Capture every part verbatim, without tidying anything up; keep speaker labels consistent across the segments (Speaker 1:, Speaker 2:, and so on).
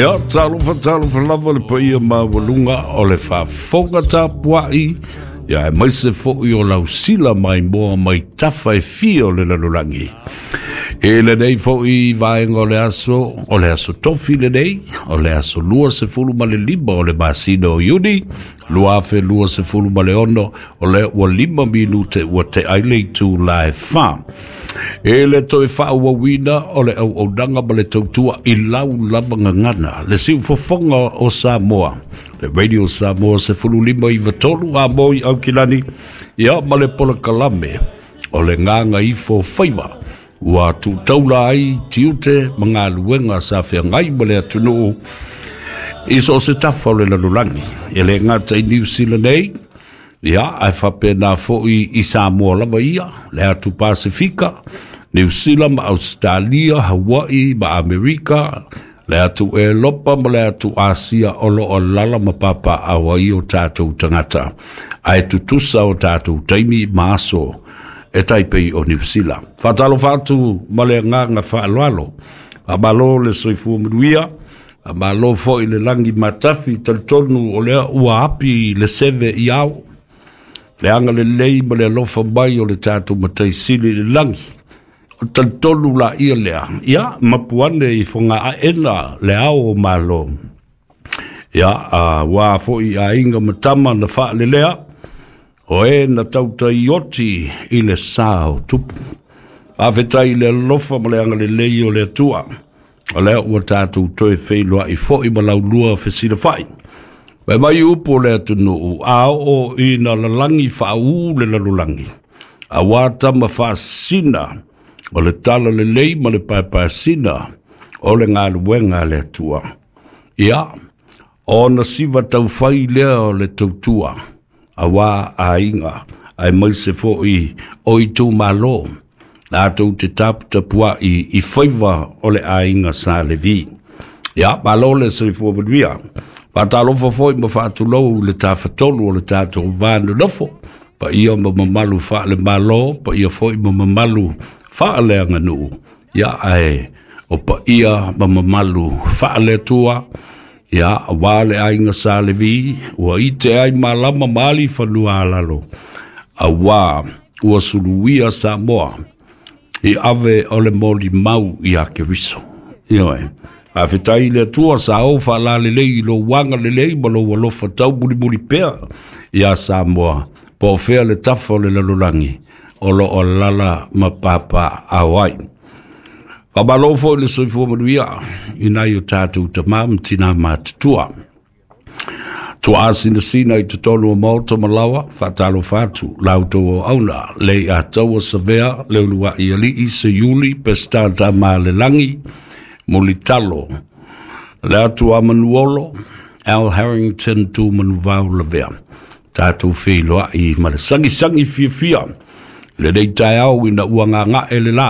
Speaker 1: Ia, talofa talofa lava le paia maualuga o le faafofoga tapuai, ia aemaise foi o lausila maimoa mai tafa e fia o le lalolagi. I lenei foi vaega o le aso, o le aso tofi lenei, o le aso luasefulu ma le lima o le masina o Iuni, lua afe luasefulu ma le ono, o lea ua lima minute ua te'a ai le itulā e fa. E le toe faaauauina o le auaunaga ma le tautua i lau lava gagana, le siufofoga o Samoa, le Radio Samoa sefulu lima iva tolu a moi Aukilani, ia ma le polokalame o le Gagaifo Faiva, ua tuutaula ai tiute ma galuega sa feagai ma le atunuu i so o se tafa o le lalolagi. E le gata i Niu Sila nei, ia, ae faapena foi i Samoa lava ia, le atu Pasifika, Niu Sila ma Ausetalia, Hawaii ma Amerika, le atu Elopa ma le atu Asia o lo o lala ma papaaao ai o tatou tagata, ae tutusa o tatou taimi ma aso e taipei o Niu Sila. Faatalofa atu ma le agaga faaaloalo. Faamalo le soifua manuia, faamalo foi le lagi matafi, talitonu o lea ua api le seve i ao, le agalelei ma le alofa mai o le tatou Mataisili i le lagi. O talitonu la ia lea, ia mapu ane i fogaaena le ao o Malo. Ia, a wā foi aiga ma tama na faalelea, o e na tautaioti i le sa o tupu. Faafetai i le alofa ma le agalelei o le Atua. O lea ua tatou toe feiloai foi ma laulua fesilafai. Fai mai upu o le atunuu, a oo ina lalagi faaū le lalolagi, auā tama faasina o le tala lelei ma le paepaesina o le galuega a le Atua. Ia, ona siva taufai lea o le tautua, auā aiga, aemaise foi o itumalo, latou te taputapuai i faiva o le aiga Sa Levi. Ia, malo le soifua manuia. Faatalofa foi ma faatulou le tafatolu o le tatou va nonofo, paia ma mamalu faale-Malo, paia foi ma mamalu faaleaganuu, ia ae o paia ma mamalu faale-Atua, ia auā le aiga Sa Levi, ua ite ai malama ma alifanua alalo, auā ua suluia Samoa i ave o le molimau ia Keriso. Ioe. Faafetai i le Atua sa ou faalalelei i lou agalelei ma lou alofa taumulimuli pea iā Samoa, po o fea le tafa o le lalolagi o lo o alala ma papaaao ai. Faamalo foi le soifua manuia i nai o tatou tamā ma tinā matutua. Tuaasinasina i totonu o maota ma laoa, faatalofa atu la outou auauna, le Ataua Savea, le Uluai Alii, Seiuli, Peseta Tamalelagi, Mulitalo, le atu a Manuolo, Al Harrington Tu Manuvao Lavea. Tatou feiloai ma le sagisagi fiafia lenei taeao ina ua gagae le lā,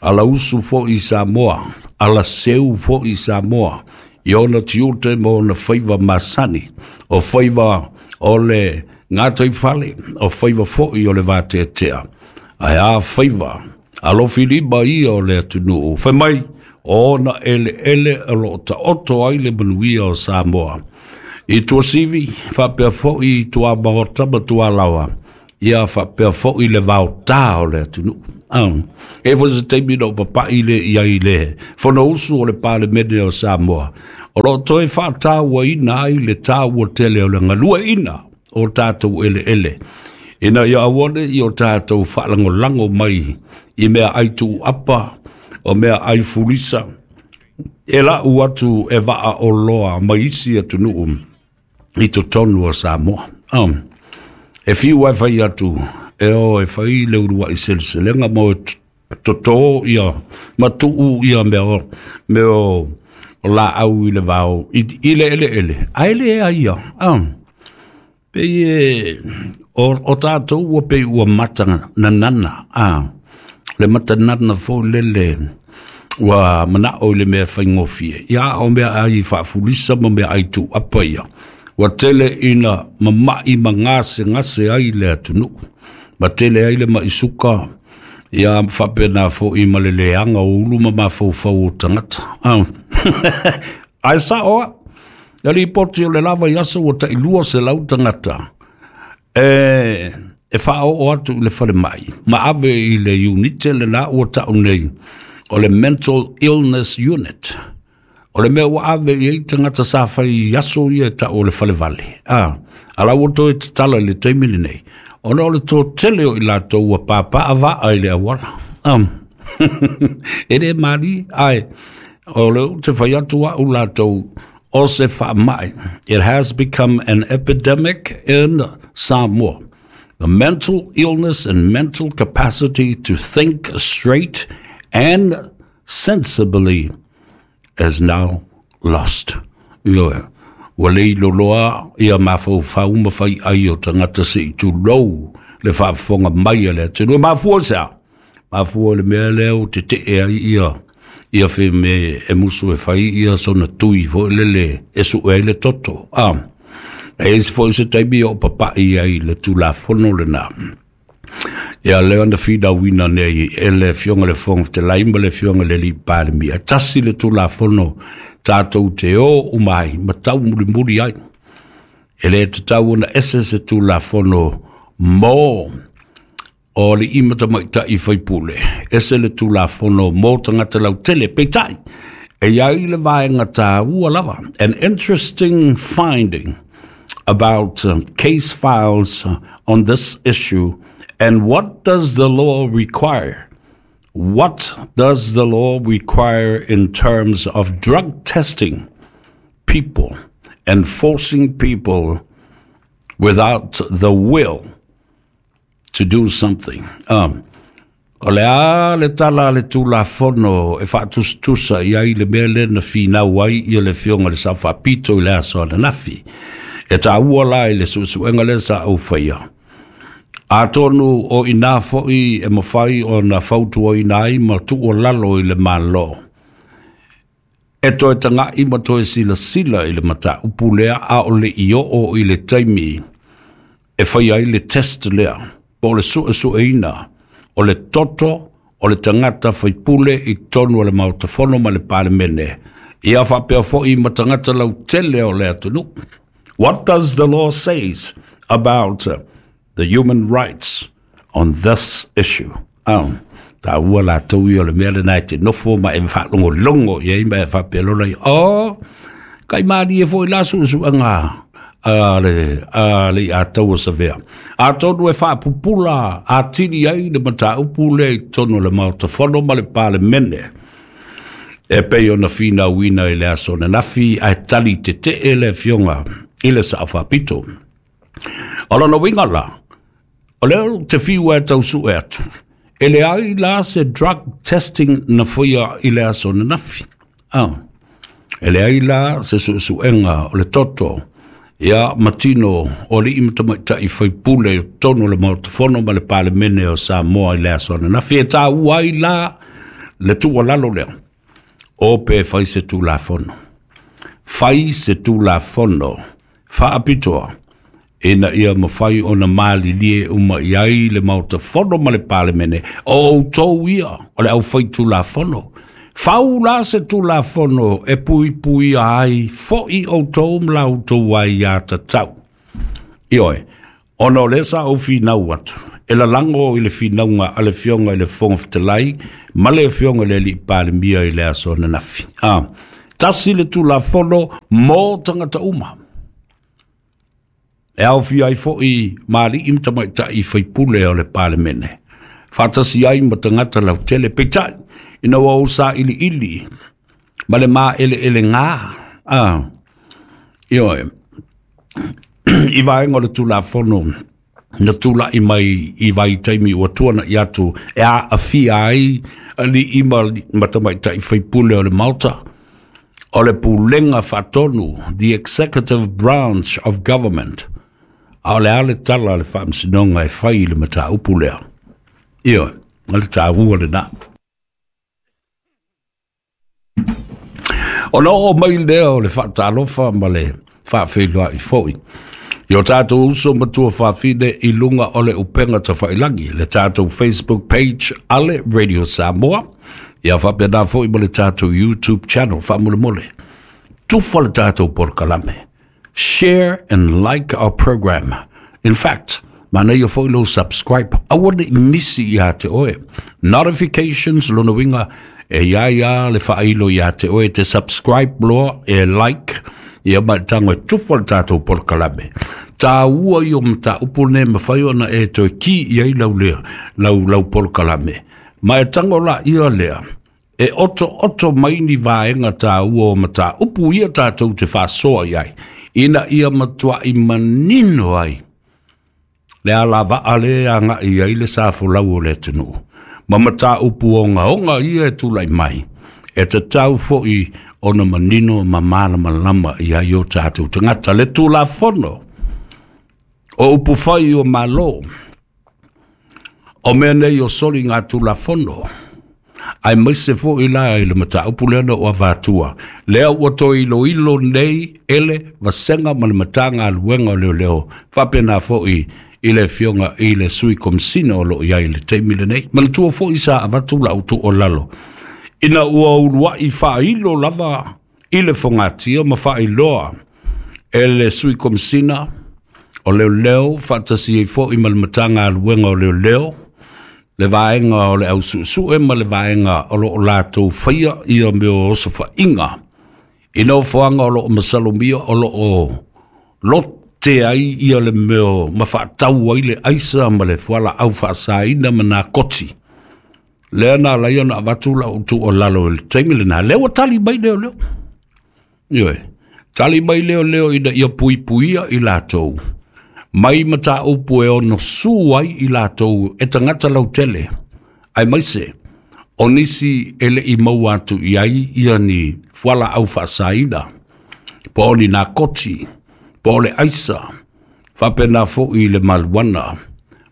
Speaker 1: ala usu foi i Samoa, ala seu foi i Samoa, i ona tiute ma ona faiva masani, o faiva o le gataifale, o faiva foi o le vateatea. Ae a faiva, alofilima ia o le atunuu. Fai mai, o ona eleele o lo o taoto ai le manuia o Samoa. I Tuasivi, faapea foi i tuamaota ma tualaoa, ia faapea foi le vaotā o le atunuu. E foi se taimi na ou papai le i ai le Fonousu o le Palemene o Samoa, o lo o toe faatauaina ai le taua tele o le galueaiina o tatou eleele, ina ia aua ne i o tatou faalagolago mai i meaai tuuapa o meaai fulisa, e lau atu e vaa oloa mai isi atunuu i totonu o Samoa. Um, e fiu ai fai atu e o e fai le uluai seleselega mo e totō ia ma tuu ia mea o mea o o laau i le vao i, i le eleele ae le ai ia. Um, pei e o, o tatou ua pei ua mata nanana a le mata nana foi lele ua manao i le mea faigofie. Ia o meaai faafulisa ma meaai tuuapa ia ua tele ina mama'i ma gasegase ai le atunuu, ma tele ai le ma'i suka, ia faapena foi ma le leaga o ulu ma mafaufau o tagata. Ah. Ae sa'o a'u le lipoti o le lava i aso ua ta'ilua selau tagata e e faaoo atu i le falemai ma ave i le unite lenā ua ta'u nei o le mental illness unit. O le mea ua ave i ai tagata sa fai i aso ia e ta'u o le falevale a ala ua toe tatala i le taimi lenei ona o le toatele o i latou ua papaa vaa i le auala. Um, e le mali ae o le te fai atu a'u latou o se faama'i. It has become an epidemic in Samoa. The mental illness and mental capacity to think straight and sensibly is now lost. Ioe, ua le iloloa ia mafaufau ma fai'ai o tagata se'i tulou le faafofoga mai a le atunuu. E mafua se a? Mafua le mea lea o tete'e ai ia ia fe me e musu e fai ia sona tui fo'i lele e su'e ai le toto. A e isi fo'i se taimi o papa'i ai le Tulafono lenā. Ia lea na finauina nei e le Afioga le Fofoga Fetalai ma le Afioga le Alii Palemia. Tasi le Tulafono tatou te o uma ai ma tau mulimuli ai. E lē tatau ona ese se Tulafono mo o alii ma tamaita'i faipule, ese le Tulafono mo tagata lautele. Peita'i e iai le vaega tāua lava. An interesting finding about uh, case files on this issue and what does the law require? What does the law require in terms of drug testing people and forcing people without the will to do something? Um, o le a le tala le Tulafono e faatusatusa i ai le mea lea na finau ai ia le Afioga le Sao Faapito i le aso ananafi. E tāua la i le suesuega lea sa ou faia. Atonu o inā fo'i e mafai ona fautuaina ai ma tuualalo i le Malo. E toe taga'i ma toe silasila i le mataupu lea a o le i oo i le taimi e fai ai le test lea po o le suesueina o le toto o le tagata faipule i totonu o le Maota Fono ma le Palemene. Ia faapea fo'i ma tagata lautele o le atunuu. What does the law says about uh, the human rights on this issue? Um, tāua latou ia o le mea lenā e te nofo ma e faalogologo i ai ma e faapea lola i o kai malie fo'i la suesuega a le a le ataua savea. Atonu e faapupula atili ai le mataupu lea i totonu o le Maota Fono ma le Palemene. E pei ona finauina i le aso ananafi ae tali tete'e le Afioga i le Sao Faapito. O lona uiga la, o lea te fiu e tau su'e atu. E leai la se drug testing na faia i le aso ananafi. Ah. E leai la se suesuega o le toto ia matino o alii ma tamaita'i faipule i totonu o le Maota Fono ma le Palemene o Samoa i le aso ananafi. E tāua ai la le tuualalo lea. O pe fai se Tulafono. Fai se Tulafono faapitoa ina ia mafai ona malilie uma i ai le Maota Fono ma le Palemene o outou ia o le aufai Tulafono. Fau la se Tulafono e puipuia ai fo'i outou ma la outou aiā tatau. Ioe, ona o lea sa ou finau atu, e lalago i le finauga a le Afioga i le Fofoga Fetalai ma le Afioga i le Alii Palemia i le aso ananafi. Ah, tasi le Tulafono mo tagata uma. E aofia ai fo'i ma alii ma tamaita'i faipule o le Palemene. Faatasi ai ma tagata lautele peitai, ina ua ou sailiili ma le maeleelegā. Ah, ioe, i vaega o le Tulafono na tula'i mai i vaitaimi ua tuana'i atu e aafia ai alii ma, ma tamaita'i faipule o le Maota, o le pulega faatonu, the executive branch of government. A o le a le tala a le faamasinoga e fai i le mataupu lea? Ioe, o le tāua lenā. Ona oo mai lea o le faatalofa ma le faafeiloai fo'i i o tatou uso ma tuafafine i luga o le upega tafailagi, le tatou Facebook page ale Radio Samoa, ia faapena fo'i ma le tatou YouTube channel. Faamolemole. Tufa le tātou polokalame. Share and like our program. In fact, manaia foi lou subscribe. Aua ne i misi ia te oe. Notifications, lona uiga, e ia ia le faailo ia te oe te subscribe loa, e like, ia ma e tago e tufa le tātou polokalame. Tāua ia o mataupu lenei e mafai ona e toe ki i ai lau lea, lau, lau polokalame. Ma e tago laia lea, e otooto mai ni vaega taua o mataupu ia tātou te faasoa i ai, ina ia matuai manino ai le alavaa le agai i ai le sa folau o le atunuu, ma mataupu ogaoga ia e tulai mai, e tatau foi ona manino ma malamalama i ai o tātou tagata. Le Tulafono o Upufai o Malo, o mea nei o soligatulafono, aemaise foi la i le mataupu lea na ou avatua, lea ua toe iloilo nei e le Vasega ma le Matagaluega o Leoleo, faapena foi i le afioga i le Sui Komesina o lo o i ai i le taimi lenei. Manatua foi sa avatu lau tuualalo, ina ua uluai faailo lava i le fogatia ma faailoa e le Sui Komesina o Leoleo faatasi ai foi ma le Matagaluega o Leoleo, le vaega o le ausuesue ma le vaega o lo o latou faia ia mea o osofaiga i nofoaga o lo o masalomia o lo o lote ai ia le mea ma faatau ai le aisa ma le fualaau faasaina ma nakoti. Lea na ala ai ona avatu lau tuualalo i le taimi lena, lea ua tali mai leoleo. Ioe, tali mai leoleo ina ia puipuia i latou mai mataupu e ono su ai i latou e tagata lautele, aemaise o nisi e le i maua atu i ai ia ni fualaau faasaina, po o ni nakoti, po o le aisa, faapena foi le maluana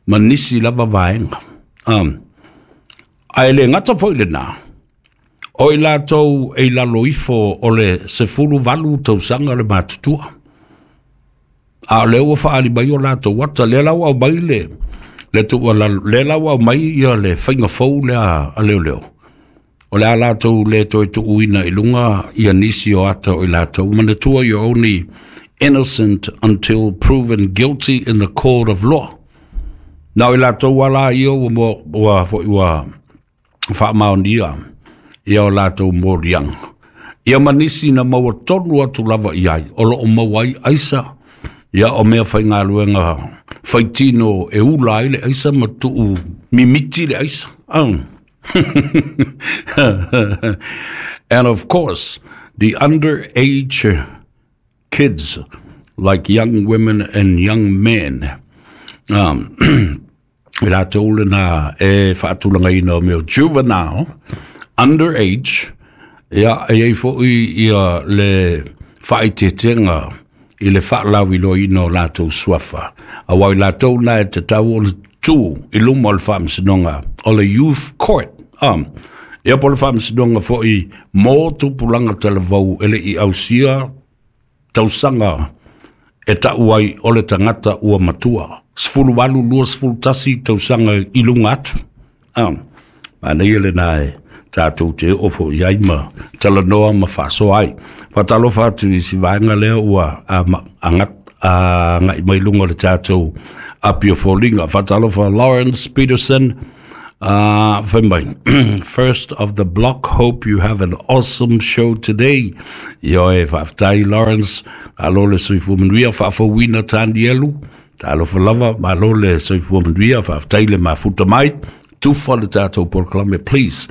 Speaker 1: ma nisi lava vaega. Um, ae le gata foi lena, o i latou e i lalo ifo o le sefulu valu tausaga le matutua, a o lea ua faaali mai o latou ata, lea la ua aumai le, le tuualalo, lea la ua aumai ia le faiga fou lea a leoleo, o le a latou le toe tuuina i luga ia nisi o ata o i latou. Manatua, you're only innocent until proven guilty in the court of law. Na o i latou ala ia ua, ua, foi ua faamaonia ia o latou moliaga, ia ma nisi na maua tonu atu lava i ai, o lo o maua ai aisa, ia o mea faigaluega faitino e ula ai le aisa ma tuu mimiti le aisa. Um. And of course, the underage kids, like young women and young men, um, i latou lena e faatulagaina o mea juvenile, underage, ia, e i ai foi ia le faaeteetega i le faalauiloaina o latou suafa. Aua o i latou na e tatau ona tu i luma o le faamasinoga o le youth court. Um, ia po o le faamasinoga foi mo tupulaga talavou e le i ausia tausaga e tau ai o le tagata ua matua. Sefulu valu, lua sefulu tasi tausaga i luga atu. Um, manaia lena e tātou te oo foi i ai ma talanoa ma faasoa ai. Faatalofa atu i si vaega lea ua agai mai luga o le tātou api o foliga. Faatalofa Lawrence Peterson, uh, fai mai, first of the block, hope you have an awesome show today. Ioe, faafetai Lawrence, malo le soifua manuia, faafouina Tanielu, talofa lava, malo le soifua manuia, faafetai le mafuta mai, tufa le tātou polokalame, please.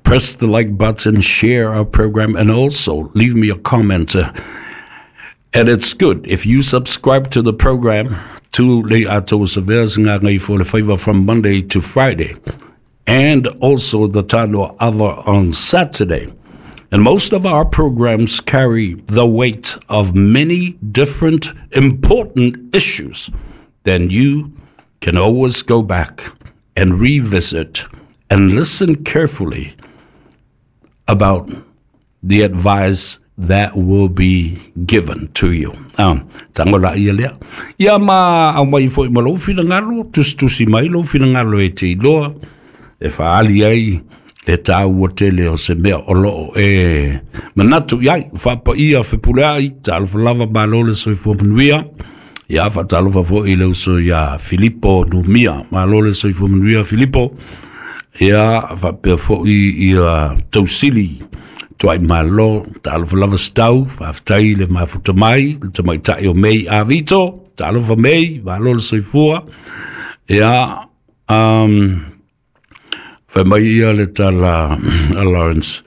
Speaker 1: Press the like button, share our program, and also leave me a comment. And it's good if you subscribe to the program to Le Ato Saveas Ngāi for le Faiva from Monday to Friday, and also the Tano Ava on Saturday. And most of our programs carry the weight of many different important issues. Then you can always go back and revisit and listen carefully about the advice that will be given to you. Um, tango la ia lea. Ia ma aumai foi ma lou finagalo, tusitusi mai lou finagalo e te iloa, e faaali ai Le tāua tele o se mea o loo e manatu iai, whaapaia fepuleai, talofa lava malo le soifua manuia. Ia whaatalofa fo i le uso ia Filipo Numia, malo le soifua manuia Filipo. Ia whaapea fo i ia tausili tuai malo, talofa lava stau, whaaftai le mafuta mai, le tamaitai o mei a Vito, talofa mei, malo le soifua. Ia, um, Fai mai ia le tala a Lawrence,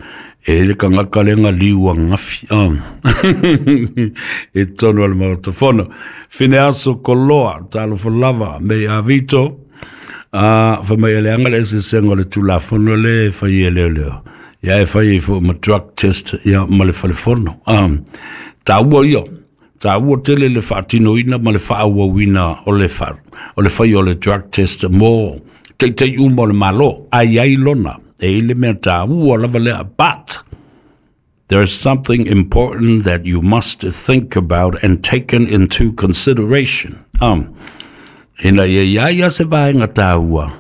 Speaker 1: e le kangaka lenga liu a ngafi. Oh. E tonu ale maotafono. Fine aso koloa, talofa lava, mei a Vito. Uh, fai mai ele anga le esesenga le tulafono le fai e leo leo. Ia e fai e fo ma drug test ia ma le falefono. Um, tā ua ia. Tā ua tele le whaatinoina ma le whaawawina o le, wha, o le whai o le drug test mo te te uma o le malo, ai ai lona, e ile mea tā ua lava lea. But there is something important that you must think about and taken into consideration. Um, ina ia ia ia se vaenga tā ua,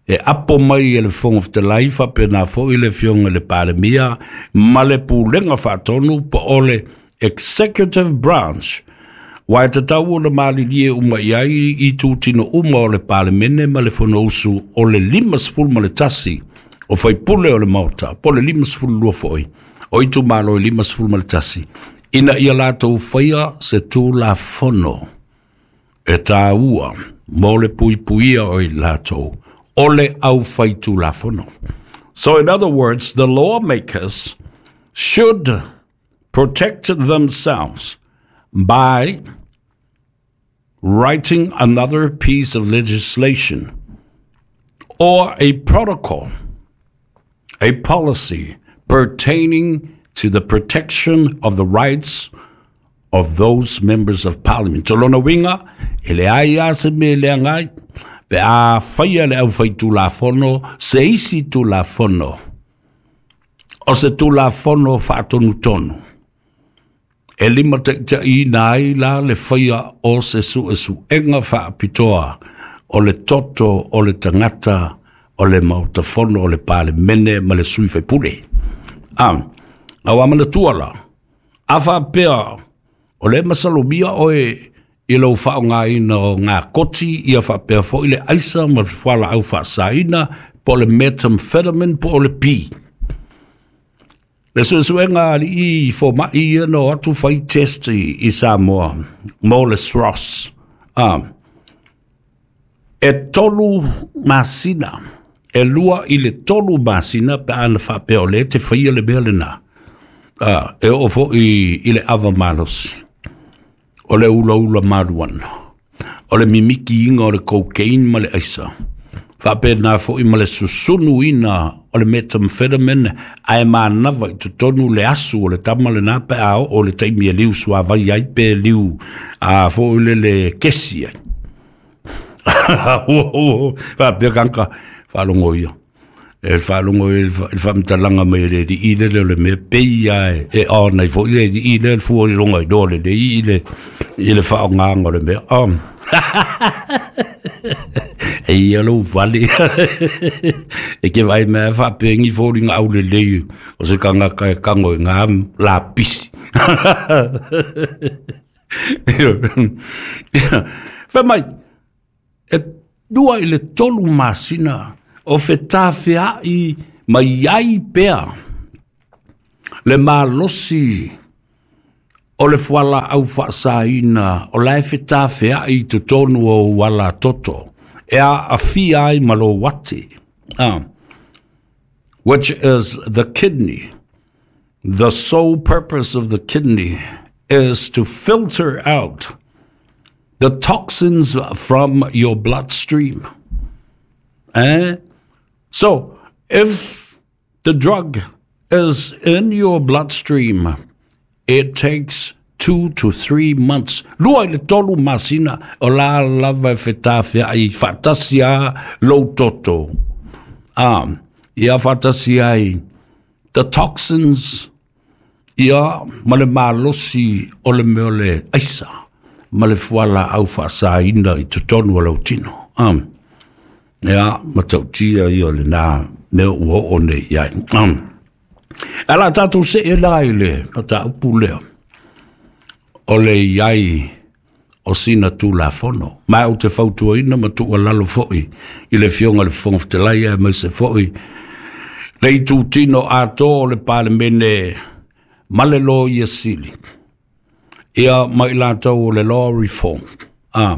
Speaker 1: e apo mai e le fongo fetalai faapena foi le fionga le palemia, ma le pulega faatonu po o le executive branch. Wai te tau o le malilie uma iai i tūtino uma o le palemene ma le fonousu o le lima sefulu ma le tasi o faipule o le maota, po le lima sefulu lua foi, o itu malo i lima sefulu ma le tasi. Ina ia latou whaia se tulafono e tāua mo le puipuia o i latou o le au whai tulafono. So in other words, the lawmakers should protect themselves by writing another piece of legislation or a protocol, a policy pertaining to the protection of the rights of those members of parliament. So lona winga, ele ai a se me le angai, pe a whaia le au whai tulafono, se isi tulafono, o se tulafono whaatonu tonu. E lima te te i nai la le whaia o se su e su enga whaapitoa o le toto o le tangata o le mautafono o le palemene ma le sui whaipule. Ah, au amana tuala, a whaapea o le masalomia oe i lau whao ngā ina o ngā koti i a whaapea fo i le aisa ma le whala au whaasaina po le methamphetamine po o le pi. Le suesuega ali i fo mai ia no atu whai test i, i Samoa, mo le S R O S. Ah, e tolu masina, e lua i le tolu masina pe ana whaapea o le te whaia le mea lena. Ah, e o fo i, i le ava malosi, o le ula ula maruana, o le mimiki inga o le cocaine ma le aisa. Whaapea nā fo i ma le susunu ina o le methamphetamine ae mānawa i totonu le asu o le tama le nā pe ao o le taimi e liu suavai ai pe liu a fo i le le kesi ai. Whaapea kanka whaalongo ia. E whaalongo ia le whamtalanga mai le li i le le le mea pei ai e o nei fo i le li i le fua i longa i do le le i le i le whaongaanga le mea. Um. E ia lou vale. E ke vai mea whaapengi fōri ngā au le lei o se kangaka e kango i ngā la pisi. Whai mai, e dua i le tolu masina o whetawhea i mai ai pea le malosi o le fuala au whaasaina o lae whetawhea i totonu o wala toto e a awhia ai malo wate, ah, which is the kidney. The sole purpose of the kidney is to filter out the toxins from your bloodstream. Eh? So, if the drug is in your bloodstream, it takes two to three months. Lua i le tolu masina o la lava e whetawhea i whatasia lou toto. Ah, ia whatasia ai the toxins ia ma le malosi o le mea le aisa ma le fuala au whaasaina i totonu o lau tino. Ah, ia matautia ia le nā Mea ua oo nei i ai. Ae la tatou see la i le mataupu lea o le i ai o sina Tulafono. Ma ou te fautuaina ma tuualalo foi i le Afioga i le Fofoga Fetalai aemaise foi le itutino atoa o le Palemene ma le Loia Sili, ia ma i latou o le Law Reform. Ah,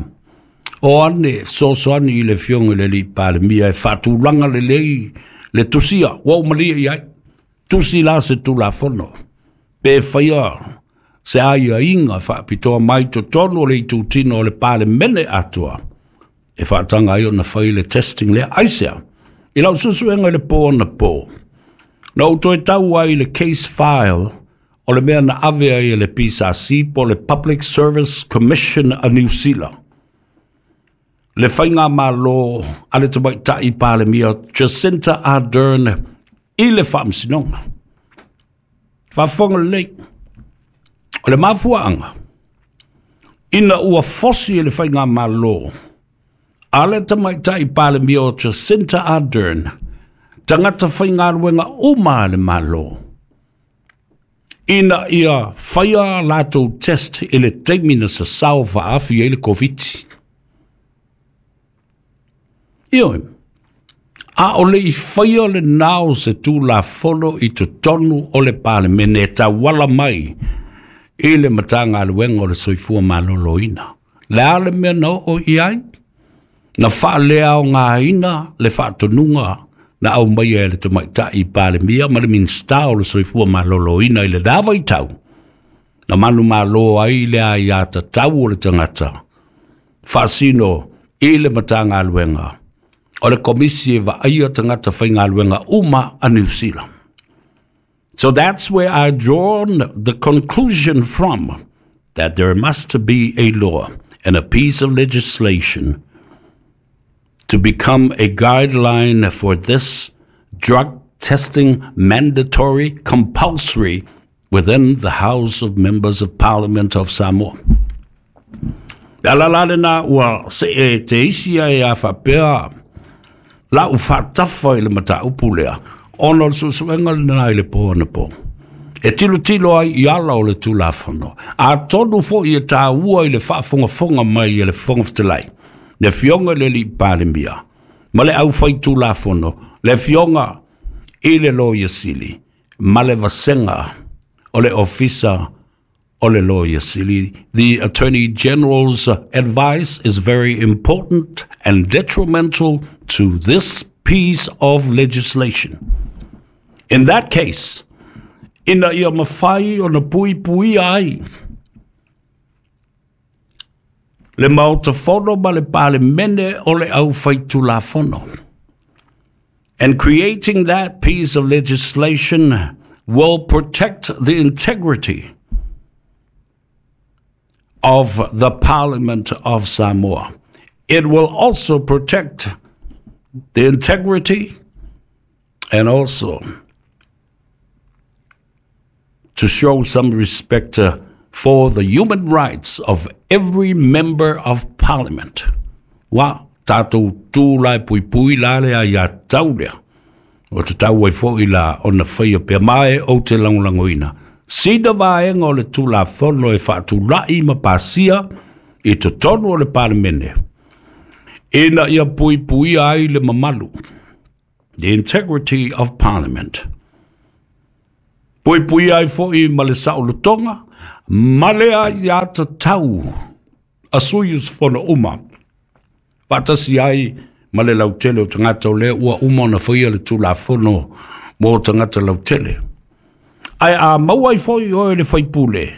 Speaker 1: o ane fesoasoani i le Afioga i le alii Palemia e faatulaga lelei le tusia ua ou malie i ai. Tusi la se Tulafono pe faia se aiaiga faapitoa mai totonu o le itutino o le Palemene atoa e faataga ai ona fai le testing lea. Aisea? I lau suesuega i le po anapo, na ou toe tau ai i le case file o le mea na ave ai e le P S R C po o le Public Service Commission a Niu Sila, le faigamalo a le tamaitai Palemia Jacinda Ardern i le faamasinoga. Faafofoga lelei, o le mafuaaga, ina ua fosi e le faigamalo a le tamaitai Palemia o Jacinda Ardern tagata faigaluega uma a le Malo, ina ia faia latou test i le taimi na sasao faaafi ai le Koviti. Ioe, a o le i faia le nao se Tulafono i totonu o le Palemene e tauala mai i le Matagaluega o le Soifua Maloloina. Le a le mea na oo i ai? Na faaleaogaina le faatonuga na aumaia e le tamaitai Palemia ma le Minisita o le Soifua Maloloina i le la vaitau, na manumalo ai le aiatatau o le tagata faasino i le Matagaluega o le Komisi e vaaia tagata faigaluega uma a Niu Sila. So that's where I drawn the conclusion from that there must be a law and a piece of legislation to become a guideline for this drug testing mandatory, compulsory within the House of Members of Parliament of Samoa. Le ala la lena ua se e te isi ai a faapea la u faatafa i le mataupu lea, ona o le suesuega lena i le po anapo. E tilotilo ai i ala o le Tulafono. Atonu foi e taua i le faafogafoga mai e le Fofoga Fetalai, le Afioga i le alii Palemia ma le aufai Tulafono, le Afioga i le Loia Sili ma le vasega o le Ofisa o le Loia Sili. The Attorney General's advice is very important and detrimental to this piece of legislation. In that case, ina ia mawhai o na pui pui ai le Maota Fono ma le Palemene o le aufai Tulafono. And creating that piece of legislation will protect the integrity of the Parliament of Samoa. It will also protect the integrity and also to show some respect uh, for the human rights of every member of Parliament. Wa tātou tū lai pui pui la le a ia tau lea. O te tau ai foi la ona whaia pea mai o te langolangoina. Sina vaenga o le Tulafono e faatulai ma pasia i totonu o le Palemene. Ina ia pui pui ai le mamalu. The integrity of Parliament. Pui pui ai foi ma le saolotoga, ma le aiatatau a sui usufono uma. Faatasi ai ma le lautele o tagata o lea ua uma ona faia le Tulafono mo tagata lautele. Ae a maua ai foi oe le faipule,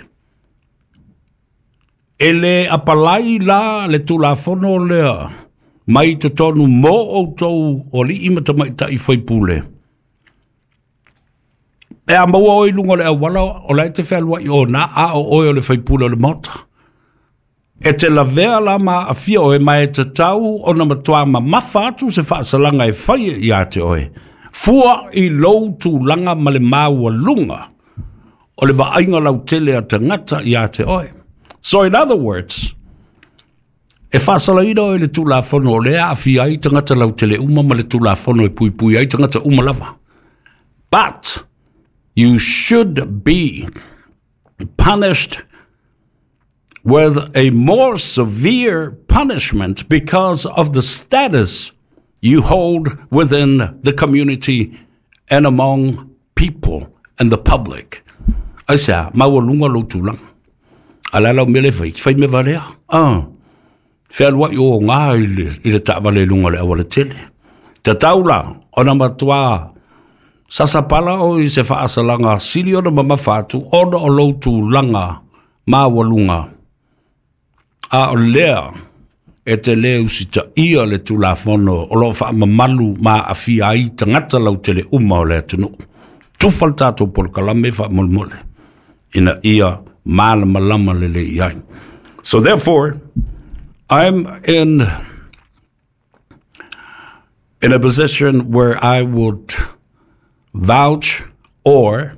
Speaker 1: e le apalai la le Tulafono lea mai totonu mo outou o alii ma tamaitai faipule. E a maua oe i luga o le auala o la e te fealuai ona a o oe o le faipule o le Maota. E te lavea la ma afia oe ma e tatau ona matoa mamafa atu se faasalaga e faia ia te oe. Fua i lou tulaga ma le maualuga o le vaaiga lautele a tagata ia te oe. So in other words, E faasalaina oe i le Tulafono o lea e aafia ai tagata lautele uma ma le Tulafono e puipui ai tagata uma lava. But you should be punished with a more severe punishment because of the status you hold within the community and among people and the public. Aisea? Maualuga lou tulaga. A o le a lau mea lea e fai? E te fai mea valea. Ah. Fealuai oga i le, i le taavale i luga o le aualatele. Tatau la ona matuā sasapala oe i se faasalaga sili ona mamafa atu ona o lou tulaga maualuga, a o lea e te lē usitaia le Tulafono o loo faamamalu ma aafia ai tagata lautele uma o le atunuu. Tufa le tatou polokalame faamolemole ina ia malamalama lelei ai. So therefore, I'm in in a position where I would vouch or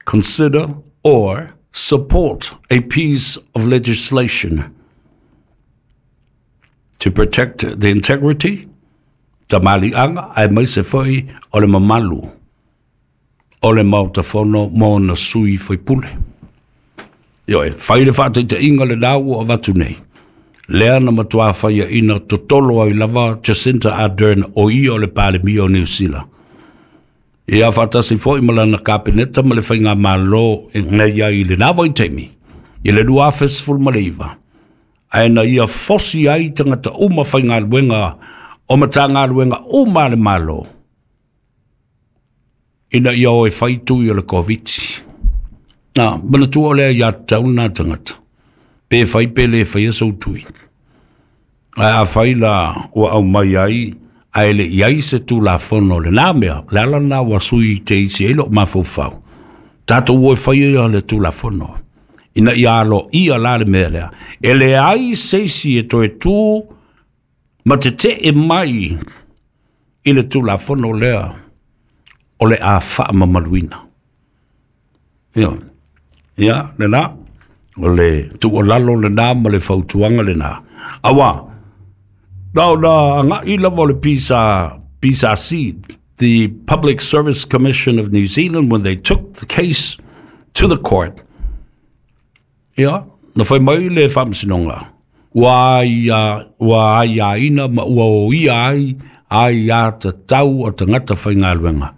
Speaker 1: consider or support a piece of legislation to protect the integrity, tamaliʻaga, aemaise foi o le mamalu o le Maota Fono ma ona sui faipule. Ioe, fai le faataitaiga lenā ua avatu nei, lea na matuā faiaina totolo ai lava Jacinda Ardern o ia o le Palemia o Niu Sila, ia faatasi foi ma lana Kapeneta ma le Faigamalo na i ai i lenā vaitaimi, i le lua afe sefulu ma le iva, ae na ia fosi ai tagata uma faigaluega o Matagaluega uma a le Malo ina ia o e fai tui o le Koviti. Na, manatua o lea ia tatau lena tagata, pe fai pe le faia sou tui. Ae afai la ua aumai ai ae le i ai se Tulafono o lenā mea, o le ala lenā ua sui te isi ai lou mafaufau, tatou o e faia le Tulafono ina ia aloaia la le mea lea. E leai se isi e toe tu ma tetee mai i le Tulafono lea o le a faamamaluina. Ioe. Ia, lenā, o le tuualalo lenā ma le fautuaga lenā. Auā, na ona agai lava o le P S C, the Public Service Commission of New Zealand, when they took the case to the court, ia, na fai mai le Faamasinoga, ua aia, ua aiaina ma ua oia ai aiatatau a tagata faigaluega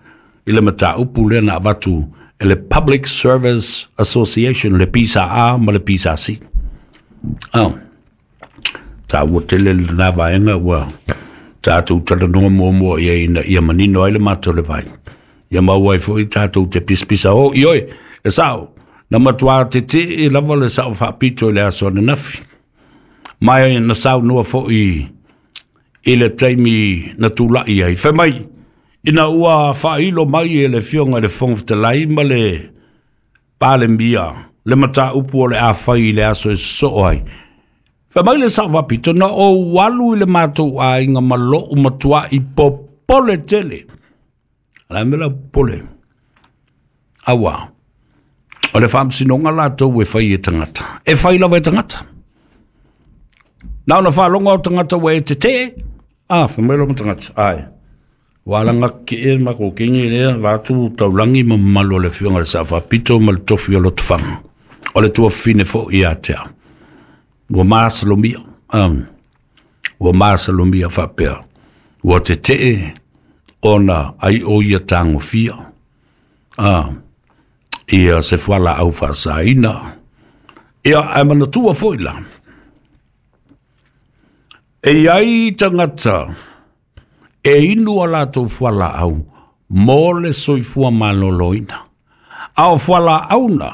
Speaker 1: i le mataupu lea na avatu e le Public Service Association, le P S A ma le P S C. Oh. Taua tele lenā vaega ua tatou talanoa muamua i ai ina ia manino ai le matou le vai. Ia maua ai foi tatou te pisapisa o. Ioe, e sao, na matuā tetee lava le Sao Faapito i le aso ananafi. Ma na saunoa foi i le taimi na tulai ai. Fai mai, ina ua faailo mai e le Afioga i le Fofoga Fetalai ma le Palemia le mataupu o le a fai i le aso e sosoo ai. Fai mai le Sao Faapito, na ou alu i le matou aiga ma lou matuai popole tele. O le a le mea la popole? Auā, o le faamasinoga latou e fai e tagata. E fai lava e tagata. Na ona faalogo o tagata ua e tetee, a, fai mai loa ma tagata, ai. Ua alaga kee ma kokenge lea, vaeatu taulagi ma mamalu o le Afioga i le Sao Faapito ma le tofi o Lotofaga. O le tuafafine foi ia te au. Ua masalomia, um, ua masalomia faapea. Ua tetee ona ai o ia tagofia. Ah, ia se fualaau faasaina. Ia, ae manatua foi la, e i ai tagata e inu a latou fualaau mo le soifua maloloina. A o fualaau na,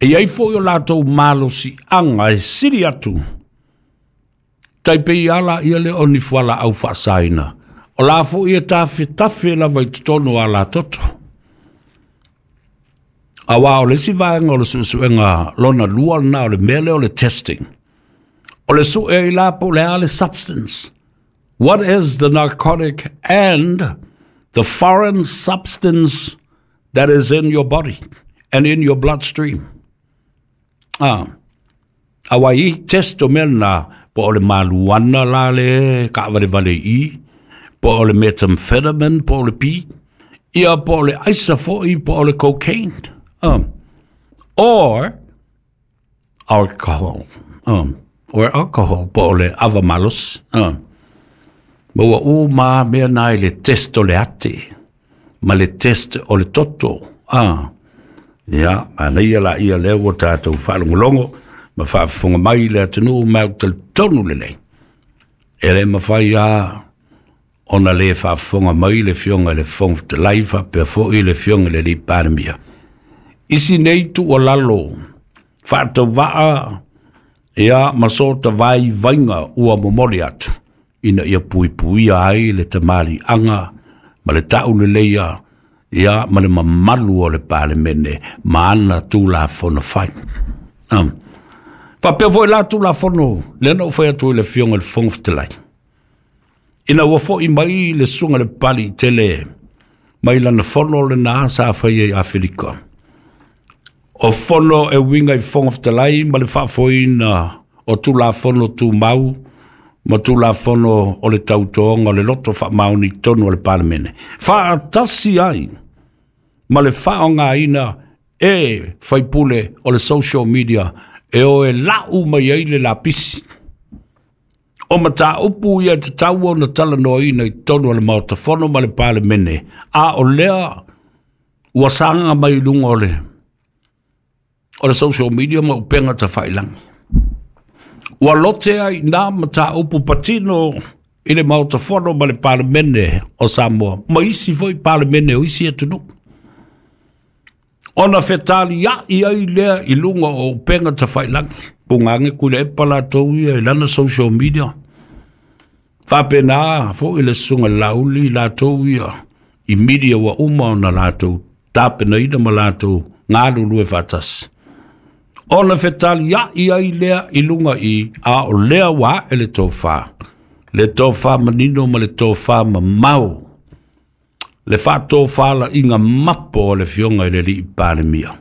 Speaker 1: e i ai foi o latou malosiaga e sili atu, tai pei ala ia lea o ni fualaau faasaina, o la foi e tafetafe lava i totonu o alatoto. Auā o le isi vaega o le suesuega lona lua lenā o le mea lea o le testing. O le sue ai la po o le a le substance. What is the narcotic and the foreign substance that is in your body and in your bloodstream? Ah. Aua i test o mea na po o le maluana la le kaavalevale i, po o le methamphetamine, po o le pi, ia po o le aisa foʻi, po o le cocaine, um, or alcohol, um, or alcohol, po o le ava malosi, um. Ma ua uma mea na i le test o le ate, ma le test o le toto, ah. Ia, manaia laia lea ua tatou faalogologo ma faafofoga mai le atunuu ma ou talitonu lelei. E le mafai lava ona le faafofoga mai le Afioga i le Fofoga Fetalai faapea foi le Afioga i le Alii Palemia. Isi nei tuualalo faatauvaa ia ma so vaivaiga ua momoli atu ina ia puipuia ai le tamaliiaga ma le tauleleia ia ma le mamalu o le Palemene ma ana Tulafono fai. Um. Faapea foi la Tulafono lea na ou fai atu i le Afioga i le Fofoga Fetalai. Ina ua foʻi mai le susuga le Papaliitele mai lana fono lena sa faia i Aferika. O fono e uiga i Fofoga Fetalai ma le faafoeina o Tulafono Tumau ma Tulafono o le tautoga o le loto faamaoni i totonu o le Palemene. Faatasi ai ma le faaaogaina e faipule o le social media e o e lau mai ai le lapisi. O mataupu ia tatau ona talanoaina i totonu o le Maota Fono ma le Palemene, a o lea ua saga mai i luga o le o le social media ma upega tafailagi. Ua lote ai nā mataupu patino i le Maota Fono ma le Palemene o Samoa, ma isi foi Palemene o isi atunuu. Ona fetaliai ai lea i luga o upega tafailagi. Pugage Tuilaepa latou ia i lana social media. Faapena foi le susuga Laauli latou ia i media ua uma ona latou tapenaina ma latou galulue faatasi. Ona fetaliai ai lea i luga i, a o lea ua ae le tofa. Le tofa manino ma le tofa mamao. Le faatofalaiga mapo o le Afioga i le Alii Palemia.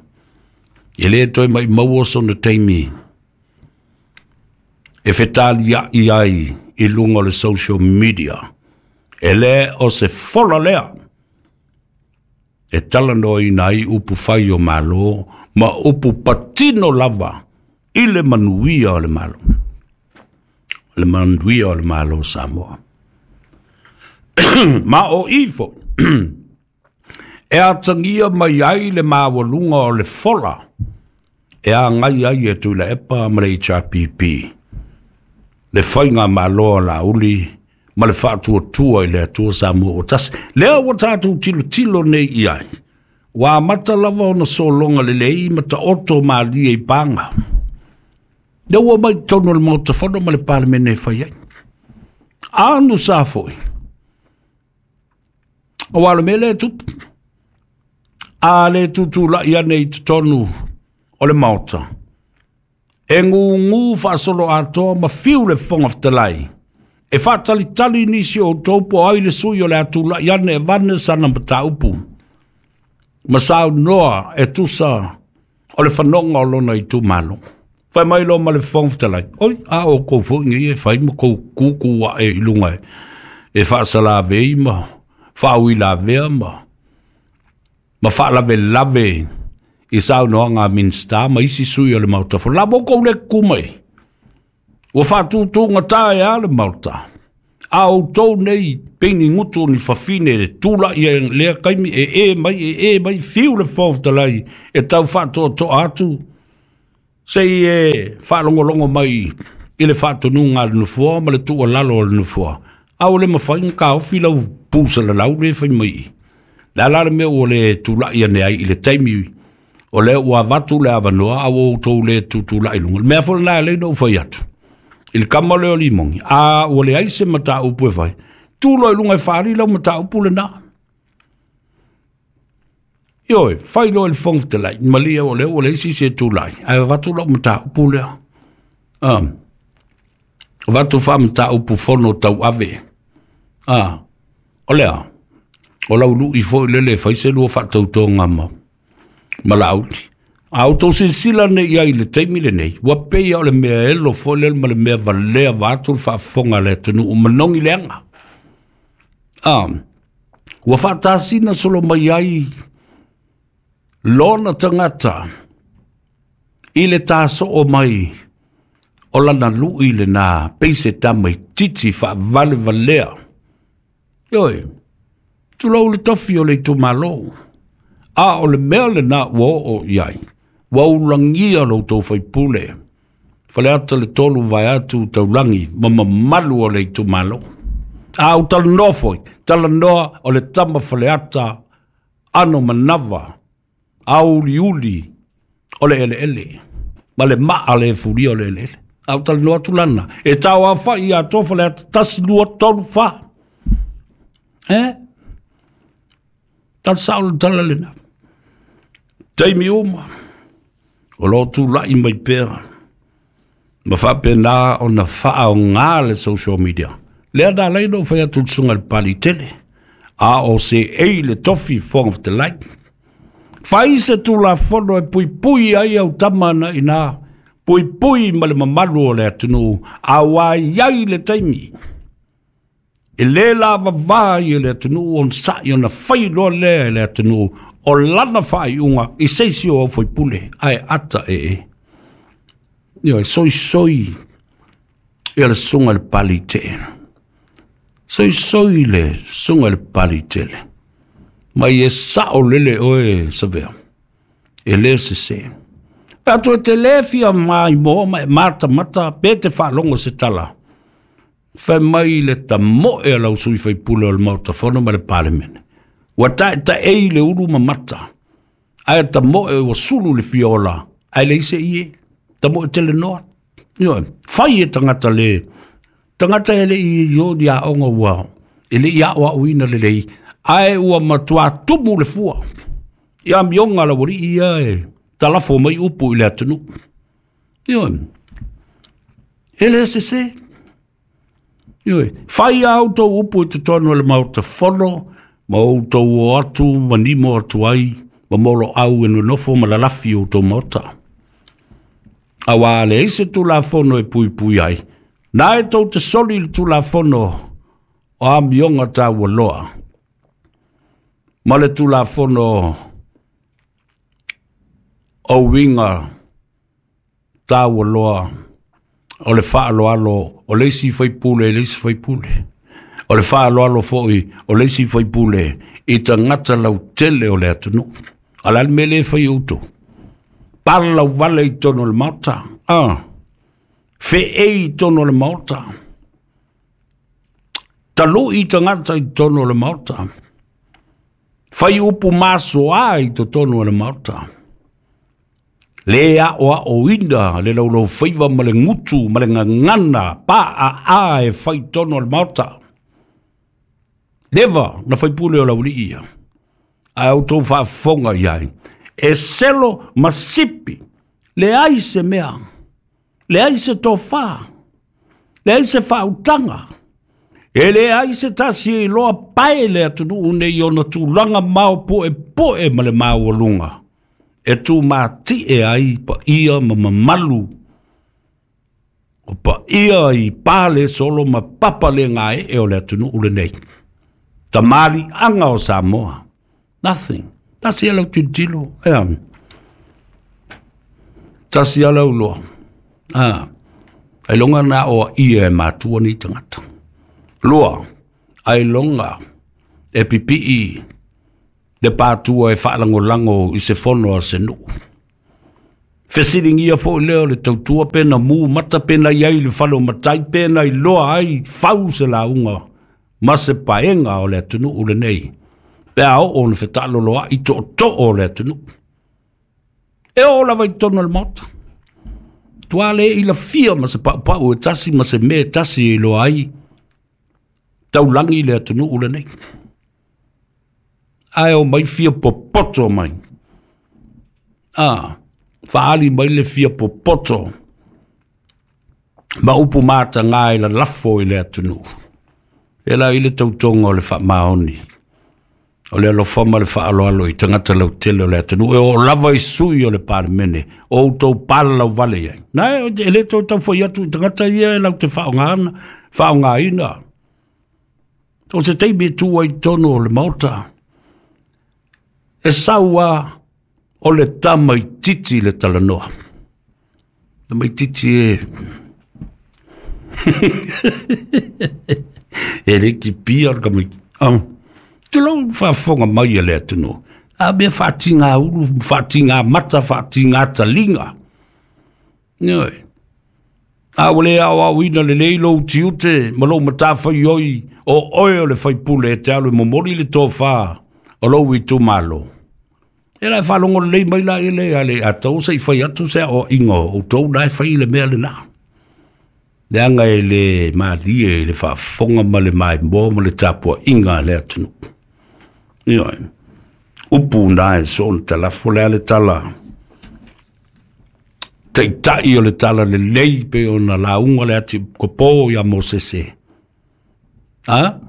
Speaker 1: E le toe maumau sona taimi e fetaliai ai i luga o le social media. E le o se fola lea e talanoaina ai upu fai o Malo ma upu patino lava i le manuia o le Malo. Le manuia o le Malo o Samoa. Ma o ifo e atagia mai ai le maualuga o le fola e agai ai e Tuilaepa ma le H R P P. Le faiga malo a Laauli ma le faatuatua i le Atua Samoa ua tasi. Lea ua tatou tilotilo nei i ai. Ua amata lava ona sologa lelei ma taoto malie i paga. Lea ua mai totonu o le Maota Fono ma le Palemene e fai ai. Anu sa foi. Aua o le mea lea e tupu. A le tutulai ane i totonu o le Maota. E gugu faasolo atoa ma fiu le Fofoga Fetalai. E faatalitali nisi o outou po ai le sui o le atulai ane e vane sana mataupu. Ma saunoa e tusa o le fanoga o lona itumalo. Fai mai loa ma le Fofoga Fetalai. Oi, a o kou foi nei e fai ma kou kuku ae i luga e, e faasalavei ma faauilavea ma ma faalavelave i saunoaga a Minista ma isi sui o le Maota Fono. La mo kou le kuku mai. Ua faatutugata e a le Maota. A outou nei peini gutu ni fafine le tulaʻi ai lea taimi e e mai e e mai fiu le Fofoga Fetalai e tau faatoatoa atu sei e faalogologo mai i le faatonuga a le nofoa ma le tuualalo o le nofoa. A ua le mafai ona taofi lau pusalalau le fai mai i. Le a la le mea ua le tulaʻi ane ai i le taimi o lea ua avatu le avanoa a ua outou le tutulaʻi luga. Le mea foi lena e alai ona ou fai atu. I le kama lea o Limogi, a ua leai se mataupu e fai. Tu loa i luga e faaali lau mataupu lena. Ioe, fai loa i le Fofoga Fetalai, malie o lea ua leai se isi e tulai, ae avatu lau mataupu lea. Um, avatu faamataupu fono tauave. Ah, o lea, o lau lui foi lele e fai se lua faatautoga ma, ma Laauli. A o tau silasila nei i ai i le taimi lenei, ua pei o le mea elo foi lea ma le mea valea vaeatu le faafofoga a le atunuu manogi leaga. Ah, ua faatasina solo mai ai lona tagata i le tasoo mai o lana lui lena pei se tamaitiiti faavalevalea. Ioe, tulou le tofi o le itumalo. A o le mea lena ua oo i ai, ua ulagia lo outou faipule, Faleata le tolu vaeatu taulagi ma mamalu o le itumalo. A ou talanoa foi, talanoa o le tama Faleata ano manava, auliuli o le eleele, ma le maa le fulia o le eleele. A ou talanoa atu lana, e tau aofai ia atoa Faleata, tasi, lua, tolu, fa. Eh? Tala sao le tala lena. Taimi uma, o lo tula'i mai pea, ma faapena ona faaoga le social media. Lea na alai na ou fai atu i le susuga i le Pali tele, a o seei le tofi Fofoga Fetalai. Fai se tulafono e puipui ai au tama na ina, puipui ma le mamalu o le atunuu, aua e i ai le taimi. E le lavavā ai e le atunuu ona sa'i ona fai loa lea e le atunuu o lana faaiuga i se isi o au faipule, ae ata ee. Ioe, soisoi ia le susuga i le Pali tele. Soisoi le susuga i le Pali tele. Mai e sao lele oe Savea, e le sese. Pe atu e te le fia maimoa ma e matamata pe te faalogo se tala. Fai mai le tamoe a lau sui faipule o le Maota Fono ma le Palemene. Ua taetaei le ulu ma mata. Ae tamoe ua sulu le fiola. Ae leai se ie. Tamoe tele noa. Ioe, fai e tagata le. Tagata e le i o ni aoga ua. E le i aoaoina lelei. Ae ua matua tumu le fua. I amioga a laualii ia e talafo mai upu i le atunuu. Ioe, e le sese. Ioe, fai a outou upu i totonu o le Maota Fono, ma outou o atu ma nimo atu ai, ma moloau e nonofo ma lalafi i outou maota. Aua leai se tulafono e puipui ai, na e tou te soli i le tulafono o amioga taualoa, ma le tulafono o uiga taualoa o le faaaloalo o le isi faipule i le isi faipule, o le faaaloalo foi o le isi faipule i tagata lautele o le atunuu. A o le a le mea lea e fai e outou? Palauvale i totonu o le Maota, ah, feei i totonu o le Maota, talu'i tagata i totonu o le Maota, fai upu masoa i totonu o le Maota. Le aoaoina le laulaufaiva ma le gutu ma le gagana paaa e fai i totonu o le Maota. Leva na faipule o laualii ia, ae outou faafofoga i ai, e selo ma sipi, leai se mea, leai se tofa, leai se faautaga, e leai se tasi e iloa pae le atunuu nei i ona tulaga maopuepu'e ma le maualuga e tumati'e ai paia ma mamalu o paia i pale solo ma papa le gae'e o le atunuu lenei. Tamali'aga o Samoa. Nothing. Tasi a lau tilotilo. Ea. Tasi a lau loa. Ah. Ailoga na aoaia e matua nei tagata. Lua, ailoga e pipii le patua e faalagolago i se fono a se nuu. Fesiligia foi lea o le tautua pe na mu mata pe na i ai i le fale o matai pe na iloa ai fau se lauga ma se paega o le atunuu lenei pe a oo ona fetaaloloai tootoo o le atunuu. E oo lava i totonu o le Maota. Tua le i lafia ma se paupau e tasi ma se mea e tasi e iloa ai taulagi le atunuu lenei. Ae o mai fia popoto mai. Ah, faali mai le fia popoto ma upu matagā e lalafo i le atunuu. E la i le tautoga o le faamaoni. O le alofa ma le faaaloalo i tagata lautele o le atunuu e oo lava i sui o le Palemene o outou palalauvale ai. Na e le toe taufai atu i tagata ia e laute faaaogaina, faaaogaina. O se taimi e tu ai i totonu o le Maota, e sau lava o le tamaitiiti le talanoa. Tamaitiiti e e le kipia o le tamaitiiti. Ah. Tulou faafofoga mai e le atunuu. A mea faatiga ulu, faatiga mata, faatiga taliga. Ioe. A ua le aoaoina lelei lou tiute ma lou matafaioi o oe o le faipule e te alu e momoli le tofa o lou itumalo. E la e faalogo lelei mai la ele a le atau se i fai atu se aoaiga o outou la e fai le mea lena. Leaga e le malie i le faafofoga ma le maimoa ma le tapuaiga a le atunuu. Ioe. Upu na e soona talafo le a le tala taitai o le tala lelei pe ona lauga le ati kopo ia Mosese. A?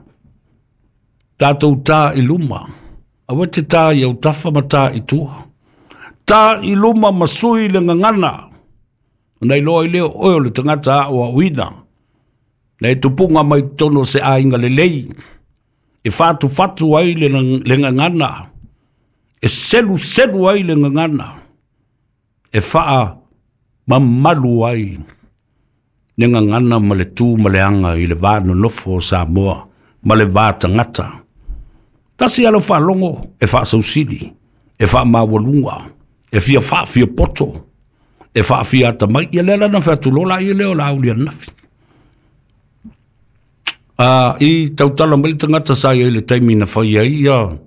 Speaker 1: Tātou tā i luma. Aua te tā i autafa ma tā i tua. Tā i luma ma sui le gagana. Ona iloa i leo oe o le tagata aoaoina. Na e tupuga mai totonu o se aiga lelei. E fatufatu ai le, le gagana. E seluselu ai le gagana. E faa mamalu ai le gagana ma le tu ma le aga i le va nonofo o Samoa ma le va tagata. Tasi alo faalogo e faasausili, e faamaualuga, e fia faafia poto, e faafia atamai. Ia lea la na featulo la ia lea o la auli ananafi. Ah, i tautala mai le tagata sa iai le taimi na fai ai ia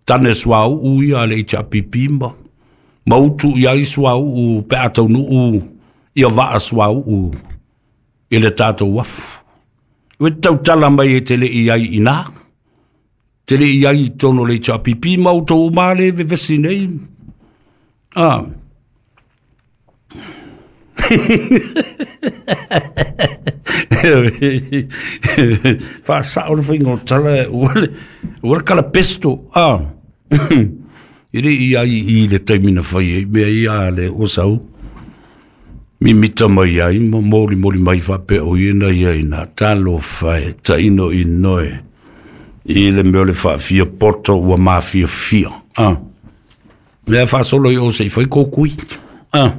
Speaker 1: tane suauu ia a le H R P P ma ma utu ia i suauu pe a taunuu ia vaa suauu i le tatou afu. Ua tautala mai e te le i ai ina. Te le i ai i totonu o le H R P P ma outou uma le vevesi nei. Ah. Faasao le faiga o tala ua le ua le kalapesto. Ah. E le i ai i le taimi na fai ai mea ia a le ua sau mimita mai ai ma molimoli mai faapea o ia na ia ina talofa e taino i noe i le mea o le faafia poto ua mafiafia. Ah. Mea faasolo i o se i fai kōkui. Ah.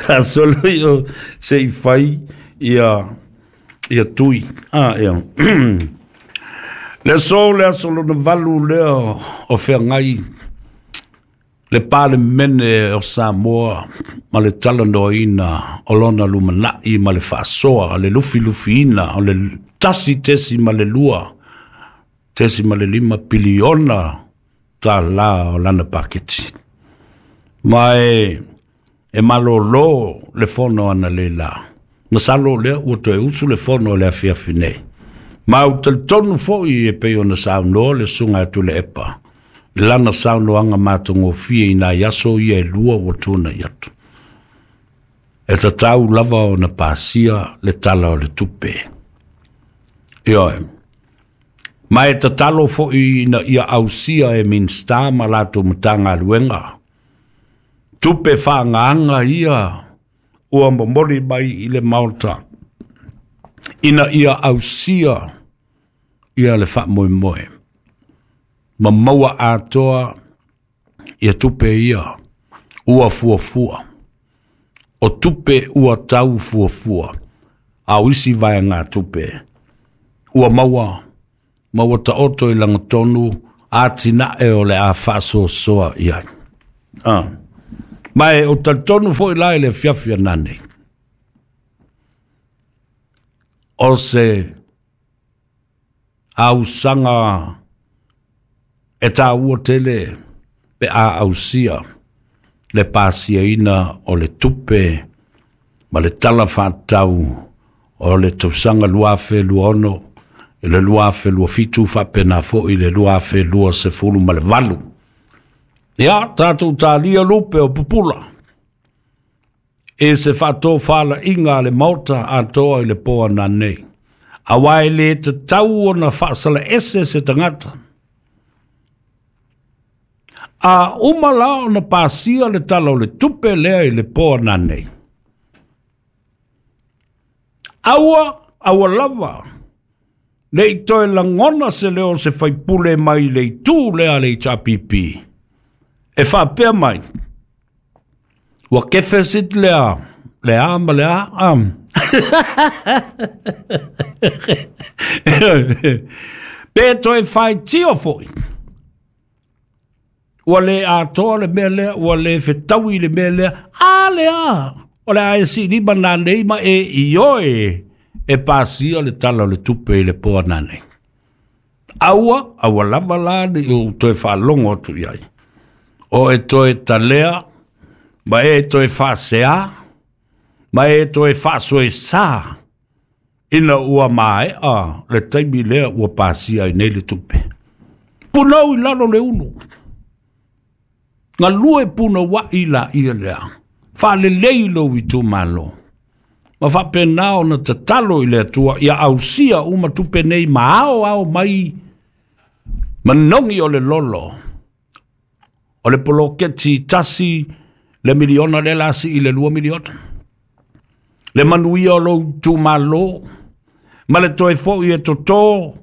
Speaker 1: Faasolo i o se i fai ia ia tui. Ah, ia. Le aso le aso lona valu lea o feagai le Palemene o Samoa ma le talanoaina o lona lumanai ma le faasoa le lufilufiina o le tasi tesi ma le lua tesi ma le lima piliona tālā o lana paketi. Ma e, e malolo le fono ana le la. Masalo lea ua toe usu le fono o le afiafi nei. Ma u talitonu foi e pei ona saunoa le susuga atu le epa. Lana saunoaga matagofie i nai aso ia e lua ua tunai atu. E tatau lava ona pasia le tala o le tupe. Ioe. Ma e tatalo foi ina ia ausia e Minista ma latou Matagaluega. Tupe faagaga ia ua momoli mai i le Maota. Ina ia ausia ia le faamoemoe. Ma maua atoa ia tupe ia ua fuafua. O tupe ua tau fuafua. A o isi vaega tupe ua maua maua taoto i lagatonu atinae o le a faasoasoa i ai. Ah. Ma e o talitonu foi la i le afiafi ananei. O se ausaga e tāua tele pe a ausia le pasiaina o le tupe ma le tala faatatau o le tausaga lua afe lua ono i le lua afe lua fitu faapena foi i le lua afe lua sefulu ma le valu. Ia, tātou tālia lupe o pupula. E se faatofalaiga a le Maota atoa i le po ananei. Auā e lē tatau ona faasalaese se tagata. A uma la ona pasia le Tala o le Tupe lea i le po ananei, aua, aua lava ne i toe lagona se leo o se faipule mai le itu lea a le H R P P e faapea mai, ua deficit lea, le a ma le a, um. Pe toe faitio foi, ua le atoa le mea lea, ua le fetaui le mea lea, a le a, o le a e siilima nanei ma e ioe e pasia le Tala o le Tupe i le po ananei. Aua, aua lava la ne i ou toe faalogo atu i ai. O e toe talea, ma e toe faasea, ma e toe faasoesā, ina ua maea le taimi lea ua pasia ai nei le tupe. Punau i lalo le ulu. Galue punaua'i laia lea. Faalelei lou itumalo. Ma faapena ona tatalo i le Atua ia ausia uma tupe nei ma ao ao mai manogi o le lolo. O le poloketi tasi le miliona le lasi i le lua miliona. Le manuia o lou itumalo, ma le toe fo'i e totō,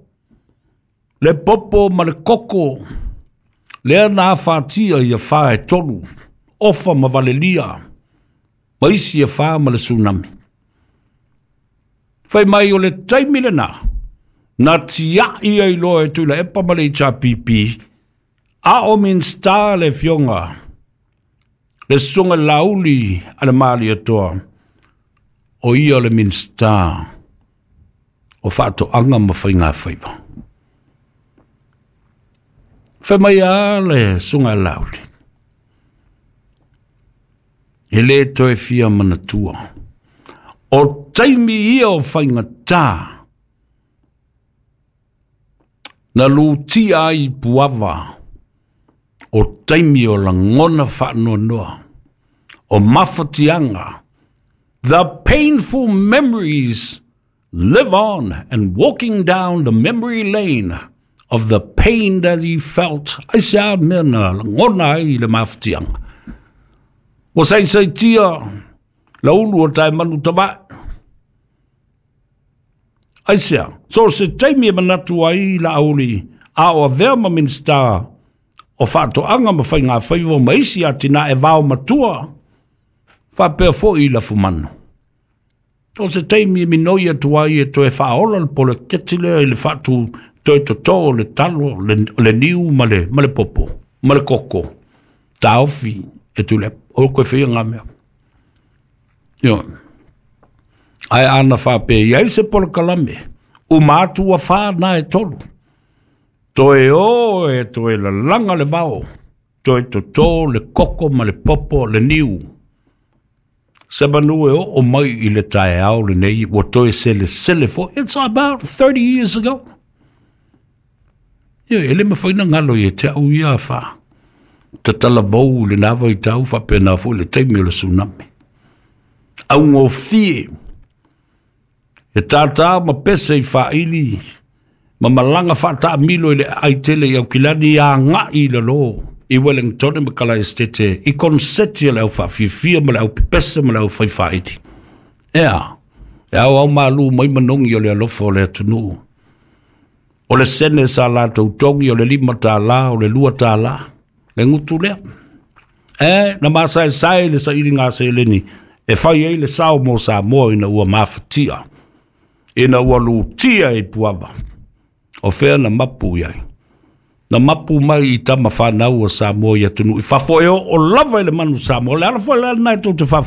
Speaker 1: le popo ma le koko, lea na afatia ia fā e tolu, ofa ma valelia, ma isi e fā ma le tsunami. Fai mai o le taimi lena, na tia'i ai loa e Tuilaepa ma le H R P P, a o Minista le Afioga, le Susuga Laauli a le Malietoa, o ia le Minista o Faatoaga ma Faigafaiva. Fai mai a le Susuga Laauli, e lē toe fia manatua, o taimi ia o faigata, na lutia ai i puava, o taimi o lagona faanoanoa, o mafatiaga. The painful memories live on, and walking down the memory lane of the pain that he felt, aisea mea na lagona ai i le mafatiaga. Ua saisaitia laulu o taemanu tavae. Aisea, so se taimi e manatu ai Laauli, a o avea ma Minista o Faatoaga ma Faigafaiva ma isi atinae vao matua, faapea fo'i i lafumanu. O se taimi e minoi atu ai e toe faaola le poloketi lea i le faatu toe totō o le talo, le, le niu ma le, ma le popo, ma le koko. Taofi e Tuilaepa, o koe faia ngā mea. Ioe. Ae ana faapea i ai se polokalame, uma atu ua fā na e tolu. Toe o e toe lalaga le vao, toe totō le koko ma le popo le niu. Se manu e oo mai i le taeao lenei, ua toe selesele fo'i. It's about thirty years ago. Ioe, e le mafai ona galo ia te au ia fā. Tatalavou i lena vaitau faapena fo'i le taimi o le tsunami. Augofie, e tātā ma pese i faaili, ma malaga faataamilo i le aai tele i Aukilani aga'i i lalō, i Wellington ma Kalaestete, i konseti a le aufaafiafia ma le aupepese ma le aufaifaaili. Ea, e aoao malū mai manogi o le alofa o le atunuu. O le sene sa latou togi o le lima tālā, o le lua tālā, le gutu lea. E, na masaesae le sailiga seleni, e fai ai le sao mo Samoa ina ua mafatia, ina ua lutia i puava. O fea na mapu i ai. Na mapu mai i tama whanau o Samoa i atunuu i fafo e o, o lava i le manu Samoa. Le ala fo'i le ala nai tou te faafofoga.